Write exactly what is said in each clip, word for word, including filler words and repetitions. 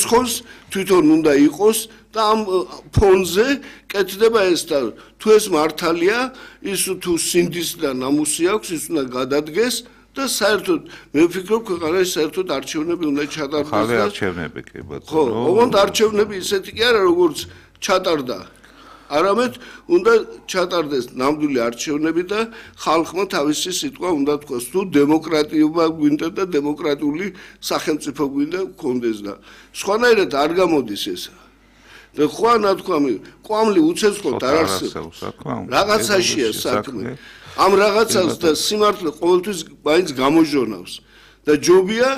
ხოს თვითონ უნდა იყოს და ამ ფონზე კეთდება ეს და თუ ეს მართალია ის თუ სინდის და ნამუსი აქვს ის უნდა გადადგეს და საერთოდ მე ვფიქრობ ქვეყანაში საერთოდ არჩევნები უნდა ჩატარდეს ხალე არჩევნები კი ბატონო ხო ოღონდ არჩევნები ისეთი კი არა როგორც ჩატარდა არამედ უნდა ჩატარდეს ნამდვილი არჩევნები და ხალხმა თავისი სიტყვა უნდა თქვას თუ დემოკრატიობა გვინდა და დემოკრატიული სახელმწიფო გვინდა გქონდეს და სხვანაირად არ გამოდის ეს და ხო ნათქვამი კვამლი უცეცხლოდ არ არსებობს რაღაცაშია საქმე ამ რაღაცას და სიმართლე ყოველთვის მაინც გამოჟონავს და ჯობია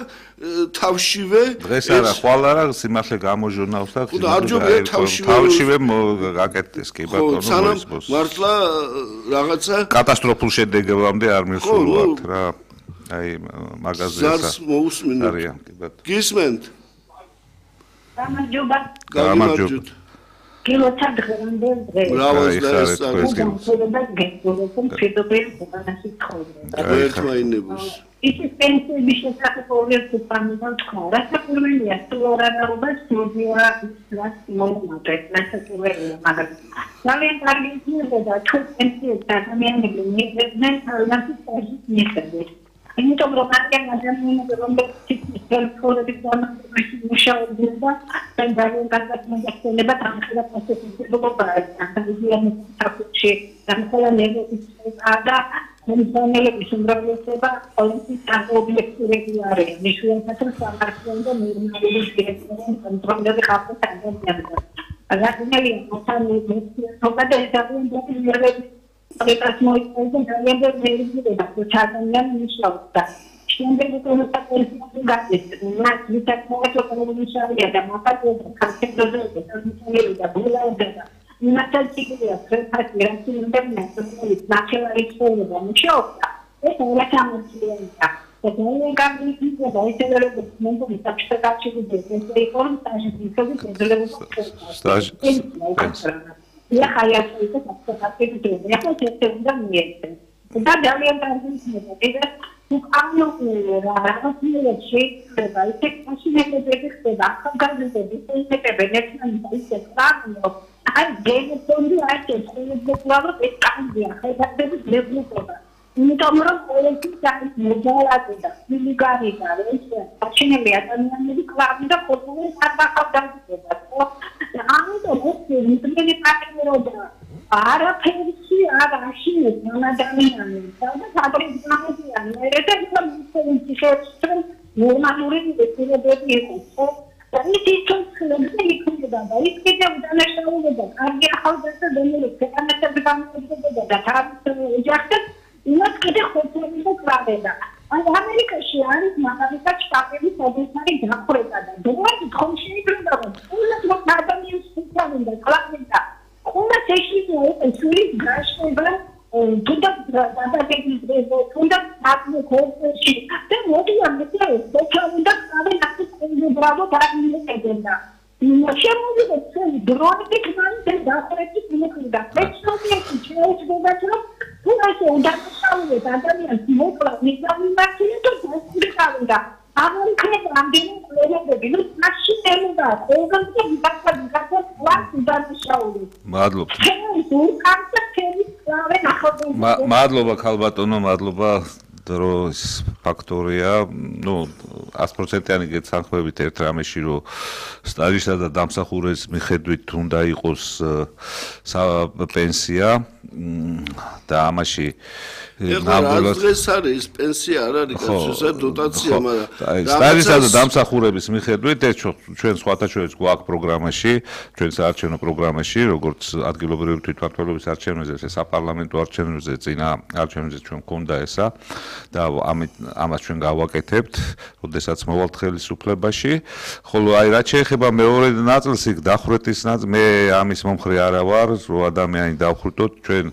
თავშივე დღეს არა ხვალ არა სიმართლე გამოჟონავს და თავშივე თავშივე გაკეთდეს კი ბატონო მოისმოს მართლა რაღაცა კატასტროფულ შედეგებამდე არ მიხსოვთ რა აი მაგაზე ზარს მოусმინოთ არიან კი ბატონო გისმენთ გამარჯობა გამარჯობა კილოთა დღემდე დღეს ბრავოს და ეს და გეკულობენ ფიდობენ უკანასი ცხოვრება ერთმაინებს ის პენსიების შესაძლებლობებს უპამიდან თქვა რასაკვირველია სულორანაობას სულზია ის მომენტეთ რასაკვირველია მაგრამ ძალიან კარგი იქნება თუ პენსიებს ადამიანები მიიღებდნენ თავიანთი სტაჟის მიხედვით იმიტომ რომ მათგან ადამიანები რომლებიც თელეფონების დამოკიდებით მუშაობდნენ და ძალიან კარგად მოგეხსენება თანხმობა პროცესებობა ანალიზიანის საფუძში განხილავების და მომხმარებლების უმრავლესობა პოლიტიკურ ობიექტურები არის მნიშვნელოვანი სამართლიანი და ნორმალური დირექტორული კონტროლები ხალხის ადამიანებს აგრეთვე მოსამართლე თოგა და ძალიან Because more important than ever, very good at the Chatan Mishra. Shambling to the Patricia got it. Not with that more of the Misharia, the Mapa, the Captain, the Bula, the Natal City of Fred in the natural exposure on show. It's all a time The only company is the voice of the movement with such a touch of the business, they form such a Я хая это как-то это я хочу это замерить. Да, да, я даже не знаю. Это ну оно разные шейки, да, это очень это да, как же это это бенефит на это правильно. А где это он это это плавно это как я, это это легко. Ну там просто это модала это. Не говори, да, это очень медленно, не классно, да, потому что так как это I'm the most really passionate. Ara Percy, Ara Shi, Nana Damian, the other is not and it is some normally the baby. So, then it is so clearly clear that I get up the national with the idea how does the Dominic and the become the have to reject not get a hotel in the Claveda. And America, she is not a such family for this night. The one conscious what happened is in the Claveda. Conversation and sweet brush over to the database, to the happening whole sheet. Then what do you understand? They come the other to the Bravo Target agenda. In a shame of the drone, big man, and that's the let's not get to change the better. Who I say that's how it is. I don't know what we done back to the calendar. I don't care. I'm doing the bill. Machine and that. Over the back of the one done show. Madloba. Ma Madloba ქალბატონო, მადლობა დროს ფაქტორია, ну, one hundred procent-იანი გეცანხმებით ერთ რამეში, რომ სტაჟისა და დამსახურების მიხედვით უნდა იყოს პენსია და ამაში ნამდვილად დღეს არის პენსია არ არის კაცოცა დოტაცია, მაგრამ სტაჟისა და დამსახურების მიხედვით ეს ჩვენ სხვათა შორის გვაქვს პროგრამაში, ჩვენ საარჩევნო პროგრამაში, როგორც ადგილობრივი თვითმმართველობის არჩევნებზე, საპარლამენტო არჩევნებზე, წინა არჩევნებზე ჩვენ გვქონდა ესა და ამით ამას ჩვენ გავაკეთებთ, როდესაც მოვალთ ხელისუფლებაში, ხოლო აი რაც შეეხება მეორე ნაწილს, იქ დახვრეტის ნაწილს, მე ამის მომხრე არა ვარ, რომ ადამიანი დავხრიტოთ, ჩვენ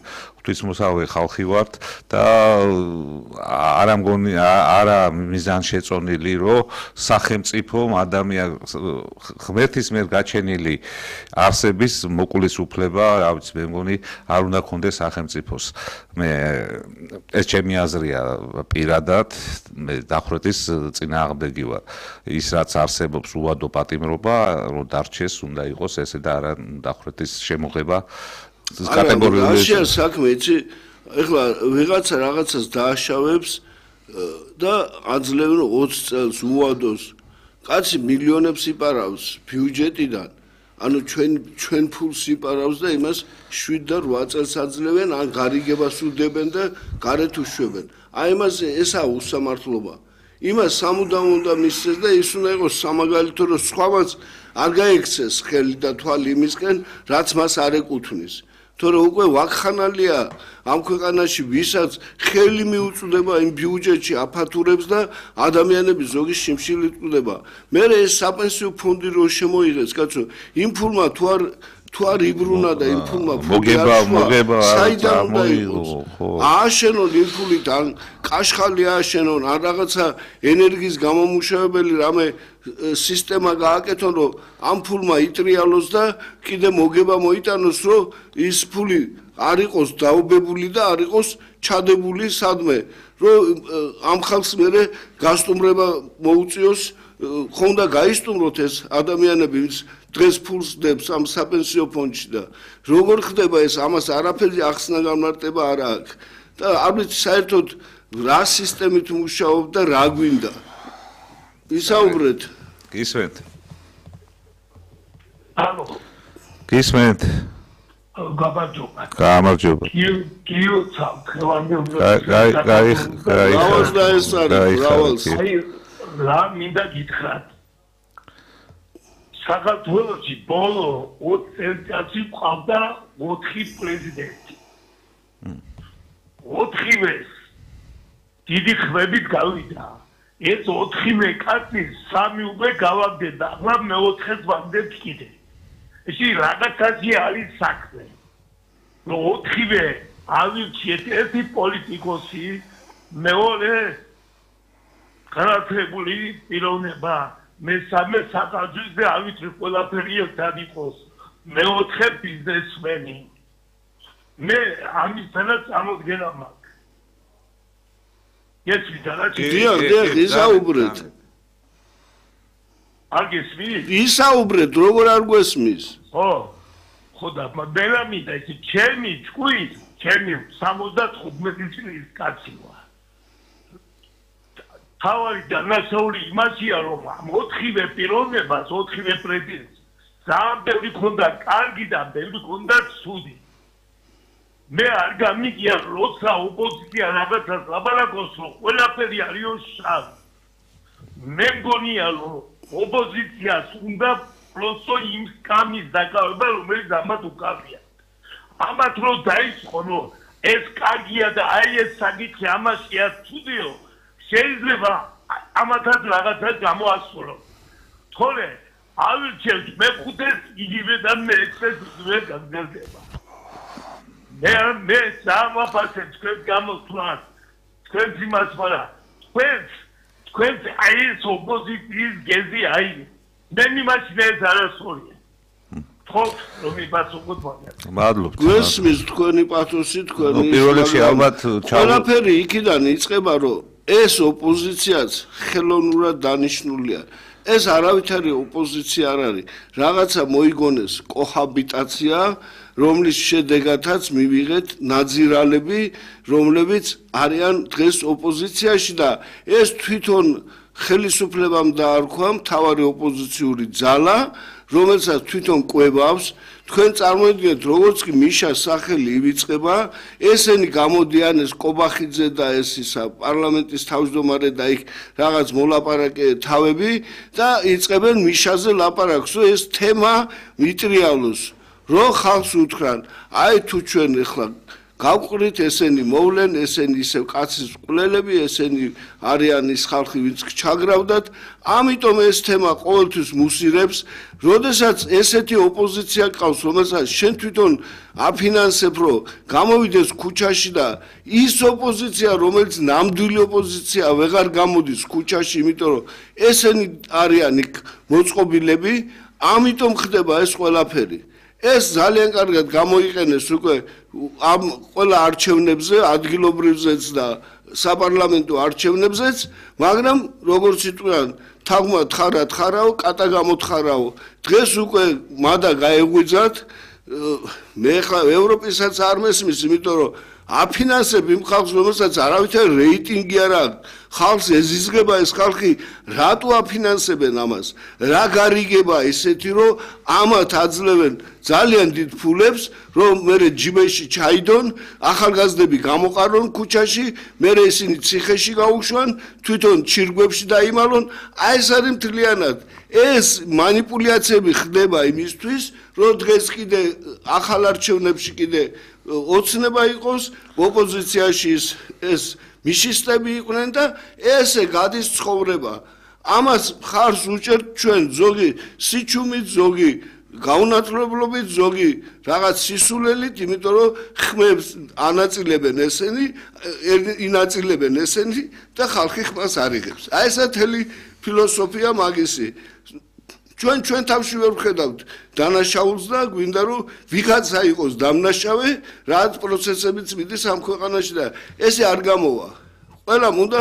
ღვთისმოსავე ხალხი ვართ და არა მგონი არა მიზანშეწონილი რომ სახელმწიფომ ადამიანს ღმერთის მიერ გაჩენილი არსების მოკვლისუფლება, რა ვიცი, მე მგონი არ უნდა ქონდეს სახელმწიფოს. მე ეს ჩემი აზრია პირადად, მე დახვრეტის წინააღმდეგი ვარ. ის რაც არსებობს უვადო პატიმრობა, რომ დარჩეს, უნდა იყოს ესე და არა დახვრეტის შემოღება კატეგორიული. არა, საქმე, იცი, ეხლა ვიღაცა რაღაცას დააშავებს და აძლევენ ოცი წელს უვადოს. კაცი მილიონებს იპარავს ბიუჯეტიდან. ანუ ჩვენ ჩვენ ფულს იპარავს და იმას შვიდ და რვა წელს აძლევენ, ან გარიგებას უდებენ და გარეთ უშვებენ. აი იმაზე ესაა უსამართლობა. იმას სამუდამოდ უნდა მისცეს და ის უნდა იყოს სამაგალითო, რომ სხვამაც არ გაექცეს ხელი და თვალი იმისკენ, რაც მას არ ეკუთვნის. თორე უკვე ვაკხანალია ამ ქვეყანაში, ვისაც ხელი მიუწვდება იმ ბიუჯეტში აფათურებს და ადამიანები ზოგი შიმშილით კვდება. მე ეს საპენსიო ფონდი რო შემოიღეს, კაცო, იმ ფულმა თუ არ თუ არ იბრუნა და იმ ფულმა მოგება მოგება საიდან უნდა იყოს? ააშენონ იმ ფულით, ან კაშხალი ააშენონ, ან რაღაცა ენერგიის გამომუშავებელი რამე სისტემა გააკეთონ, რომ ამ ფულმა იტრიალოს და კიდე მოგება მოიტანოს, რომ ის ფული არ იყოს დაუბებული და არ იყოს ჩადებული სადმე, რომ ამ ხალხს მერე გასტუმრება მოუწიოს, ხომ და გაისტუმროთ ეს ადამიანები, ვინც დღეს ფულს დებს ამ საპენსიო ფონდში და როგორ ხდება ეს, ამას არაფერი ახსნა გამარტება არ აქვს და არ ვიცი საერთოდ რა სისტემით მუშაობ და რა გვინდა. ისაუბრეთ. გისმენთ. ალო. გისმენთ. გამარჯობა. გამარჯობა. კიო კიო ხევანდი უნდა. გაი გაი გაი. რავალს და ეს არის, რავალს. აი რა მინდა გითხრათ. საქართველოში ბოლო ოცი წელიწადში ყავდა ოთხი პრეზიდენტი. ოთხივეს დიდი ხმებით გავიდა. ეს ოთხივე კაცი სამი უკვე გავაგდენდა, ახლა მეოთხეს ვაგდებ კიდე. ისი რაღაცაში არის საქმე. რომ ოთხივე ავირჩიეთ ერთი პოლიტიკოსი, მეორე განათლებული პიროვნება, მესამე საკითხი და ავითრი ყველაფერი ერთად იყოს. მეოთხე ბიზნესმენი. მე ამისთანაც წამოდგენა მაქვს. ეს ვიდარაჩი. დიახ, დიახ, ისაუბრეთ. არ გესმის? ისაუბრეთ, როგორ არ გვესმის? ხო. ხო და მადელამი და ეს ჩემი ჭკუის, ჩემი სამოცდათხუთმეტი წლის კაცი ვარ. თავი და ნასაული იმაშია, რომ ამ ოთხივე პიროვნებას, ოთხივე პრეზიდენტს ძალიან ბევრი ქონდა კარგი და ბევრი ქონდა ცუდი. მე არ გამიგია, როცა ოპოზიცია რაღაცას ლაპარაკობს, რომ ყველაფერი არის შავი. მე მგონია, რომ ოპოზიციას უნდა პროსო იმ სკამის დაკავება, რომელიც ამათ უკავია. ამათ რო დაიწყო, რომ ეს კარგია და აი ეს საკითხი ამაშია ცუდიო, შეიძლება ამათაც რაღაცა გამოასწორო. თორე ავირჩევთ მეხუთეს იგივე და მეექვსეს იგივე გაგრძელდება. მე მე სამაფასე თქვენ გამოსვლას თქვენ იმას ვარა თქვენ თქვენ აი ეს ოპოზიციის გეზი აი მე მიმაჩნია ეს არასწორია ხო რომ იპასუხოთ მაგას მადლობთ გვესმის თქვენი პათოსი თქვენი პირველ რიგში ალბათ ყველაფერი იქიდან იწყება რომ ეს ოპოზიციაც ხელოვნურად დანიშნულია ეს არავითარი ოპოზიცია არ არის რაღაცა მოიგონეს კოჰაბიტაცია რომლის შედეგადაც მივიღეთ ნაძირალები, რომლებიც არიან დღეს ოპოზიციაში და ეს თვითონ ხელისუფლებამ დაარქვა მთავარი ოპოზიციური ძალა, რომელსაც თვითონ კვებავს. თქვენ წარმოიდგინეთ, როგორც კი მიშას სახელი ივიწყება, ესენი გამოდიან ეს კობახიძე და ეს ისა პარლამენტის თავმჯდომარე და იქ რაღაც მოლაპარაკე თავები და იწყებენ მიშაზე ლაპარაკს, რომ ეს თემა მიტრიალოს. რო ხალხს უთხრან, აი თუ ჩვენ ახლა გავყრით ესენი მოვლენ, ესენი ისევ კაცის ყვლელები, ესენი არიან ის ხალხი, ვინც ჩაგრავდათ, ამიტომ ეს თემა ყოველთვის მუსირებს, როდესაც ესეთი ოპოზიცია ყავს, რომელსაც შენ თვითონ აფინანსებ, რომ გამოვიდეს ქუჩაში და ის ოპოზიცია, რომელიც ნამდვილი ოპოზიცია ვეღარ გამოდის ქუჩაში, იმიტომ რომ ესენი არიან იქ მოწყობილები, ამიტომ ხდება ეს ყველაფერი. ეს ძალიან კარგად გამოიყენეს უკვე ამ ყველა არჩევნებზე, ადგილობრივზეც და საპარლამენტო არჩევნებზეც, მაგრამ როგორც იტყვიან, თაღმა თხარა თხარაო, კატა გამოთხარაო. დღეს უკვე მადა გაეღვიძათ, მე ხა ევროპისაც არ მესმის, იმიტომ რომ აფინანსებ იმ ხალხს, რომელსაც არავითარი რეიტინგი არ აქვს. ხალხს ეზიზღება ეს ხალხი, რატო აფინანსებენ ამას? რა გარიგება ისეთი, რომ ამათ აძლევენ ძალიან დიდ ფულებს, რომ მერე ჯიბეში ჩაიდონ, ახალგაზრდები გამოყარონ ქუჩაში, მერე ისინი ციხეში გაუშვან, თვითონ ჩირგვებში დაიმალონ. აი ეს არის მთლიანად. ეს манипуляციები ხდება იმისთვის, რომ დღეს კიდე ახალ არჩევნებში კიდე ოცნება იყოს, ოპოზიციაში ეს მიშისტები იყვნენ და ესე გადის ცხოვრება. ამას ხარს უჭერთ ჩვენ ზოგი სიჩუმით, ზოგი გაუნათლებლობით, ზოგი რაღაც სისულელით, იმიტომ რომ ხმებს ანაწილებენ ესენი, ინაწილებენ ესენი და ხალხი ხმას არ იღებს. აი ესა თელი ფილოსოფია მაგისი. ჩვენ ჩვენ თავში ვერ ვხედავთ დანაშაულს და გვინდა რომ ვიღაცა იყოს დამნაშავე, რაც პროცესებიც მიდის ამ ქვეყანაში და ესე არ გამოვა. ყველამ უნდა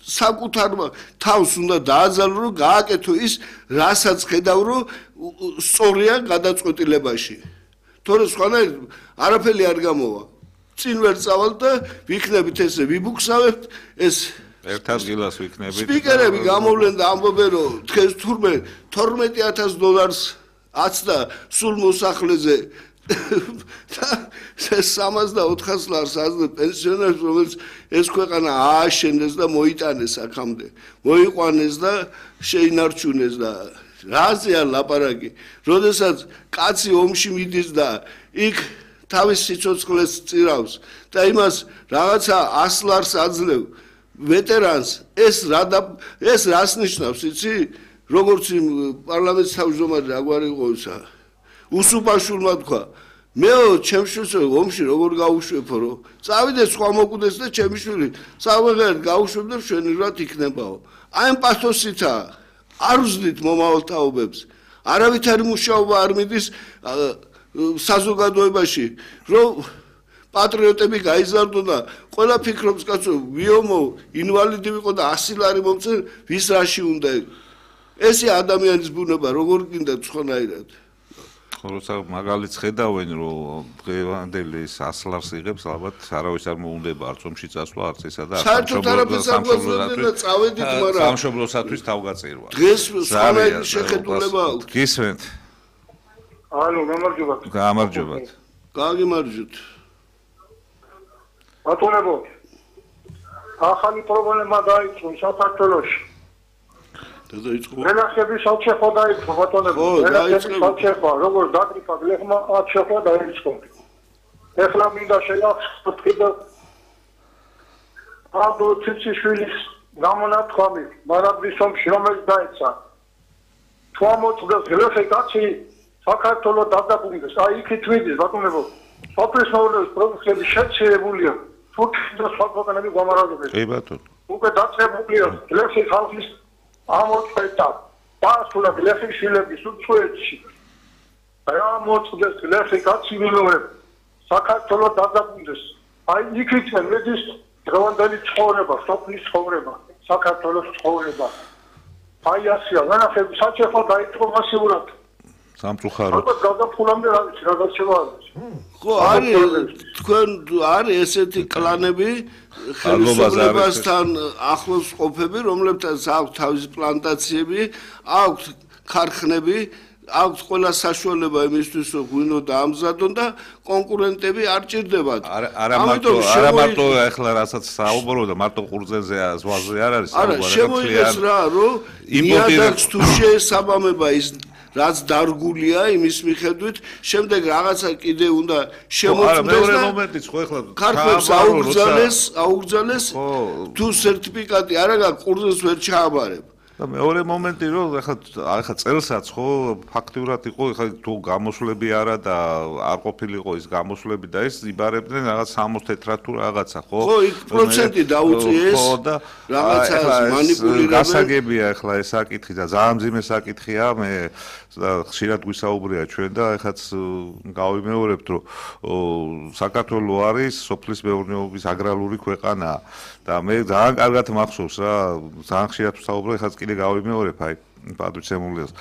საკუთარ თავს უნდა დააძალო, რომ გააკეთო ის, რასაც ხედავ, რომ სწორია გადაწყვეტილებაში. თორე სხვანაირ არაფერი არ გამოვა. წინ ვერ წავალ და ვიქნებით ესე ვიბუქსავებთ ეს ერთ ადგილას ვიქნებით. სპიკერები გამოვლენ და ამბობენ, რომ დღეს თურმე თორმეტი ათას დოლარს აცდა სულ მოსახლეზე და სამას და ოთხას ლარს აცდა პენსიონერს, რომელიც ეს ქვეყანა ააშენეს და მოიტანეს აქამდე, მოიყვანეს და შეინარჩუნეს და რაზეა ლაპარაკი, როდესაც კაცი ომში მიდის და იქ თავის სიცოცხლეს წირავს და იმას რაღაცა ას ლარს აძლევ ვეტერანს, ეს რა ეს რას ნიშნავს, იცი? როგორც იმ პარლამენტის თავმჯდომარე აგვარი იყო ისა. უსუპაშვილმა თქვა, მეო, ჩემს შვილს ომში როგორ გაუშვებო, რომ წავიდეს სხვა მოკვდეს და ჩემი შვილი სამღერად გაუშვებ და მშვენივრად იქნებაო. აი ამ პათოსითა არ ვზდით მომავალთაობებს. არავითარი მუშაობა არ მიდის საზოგადოებაში, რომ პატრიოტები გაიზარდონ და ყველა ფიქრობს, კაცო, ვიომო, ინვალიდი ვიყო და ასი ლარი მომწერ, ვის რაში უნდა. ესე ადამიანის ბუნება, როგორ გინდა ცხონაირად. როცა მაგალითს ხედავენ, რომ დღევანდელი ას ლარს იღებს, ალბათ არავის არ მოუნდება არც ომში წასვლა, არც ესა და სამშობლოსათვის თავგაწირვა. დღეს სხვანაირი შეხედულება აქვს. გისმენთ. ალო, გამარჯობათ. გამარჯობათ. გაგიმარჯვეთ. ბატონებო, ახალი პრობლემა დაიწყო საქართველოში. და დაიწყო. მენახების საჩეხო დაიწყო ბატონებო. მენახების საჩეხო, როგორც დაკრიფა გლეხმა აჩეხო დაიწყო. ეხლა მინდა შეახსოვთ და აბო ციციშვილის გამონათქვამი, მარაბდის ომში რომელიც დაეცა. თვამოწდეს გლეხი კაცი საქართველოს დაძაბუნდეს. აი იქით მიდის ბატონებო. სოფლის მოვლენების პროდუქტები შეცვლებულია. თურქეთის და სხვა ქვეყნები გვამარაგებენ. კი ბატონო. უკვე დაწყებულია გლეხი ხალხის ამოწყვეტა. პასულა გლეხის შვილების უცხოეთში. რა მოწდეს გლეხი კაცი ვილოებ. საქართველოს დაძაბუნდეს. აი იქით მიდის დღევანდელი ცხოვრება, სოფლის ცხოვრება, საქართველოს ცხოვრება. აი ასია, განახები საჩეხო დაიწყო მასიურად. სამწუხაროდ. ალბათ გადაფულამდე რა ვიცი, რა გაჩება არის. ხო, არის თქვენ არის ესეთი კლანები ხელისუფლებასთან ახლოს ყოფები, რომლებთან აქვს თავისი პლანტაციები, აქვს ქარხნები, აქვს ყველა საშუალება იმისთვის, რომ ღვინო დაამზადონ და კონკურენტები არ ჭირდებათ. არა მარტო, არა მარტო ახლა რასაც საუბრო და მარტო ყურძენზე ზღვაზე არ არის საუბარი. არა, შემოიღეს რა, რომ ნიადაგს თუ შეესაბამება ის რაც დარგულია იმის მიხედვით, შემდეგ რაღაცა კიდე უნდა შემოწმდეს მეორე და მომენტიც ხო ეხლა ქართველებს ჩააბარო, აუგზავნეს, აუგზავნეს ხო. თუ სერტიფიკატი არ აქვს კურსს ვერ ჩააბარებ. და მეორე მომენტი რომ ეხლა ეხლა წელსაც ხო ფაქტიურად იყო ეხლა თუ გამოსვლები არა და არ ყოფილიყო ის გამოსვლები და ეს იბარებდნენ რაღაც სამოცდაათი თეთრად თუ რაღაცა ხო ხო იქ პროცენტი დაუწიეს ხო და რაღაცას მანიპულირებენ გასაგებია ეხლა ეს საკითხი და ძალიან მძიმე საკითხია მე ხშირად გვისაუბრია ჩვენ და ეხაც გავიმეორებთ რომ საქართველო არის სოფლის მეურნეობის აგრარული ქვეყანა და მე ძალიან კარგად მახსოვს რა ძალიან ხშირად ვსაუბრობ ეხაც კიდე გავიმეორებ აი პატრიცემულიას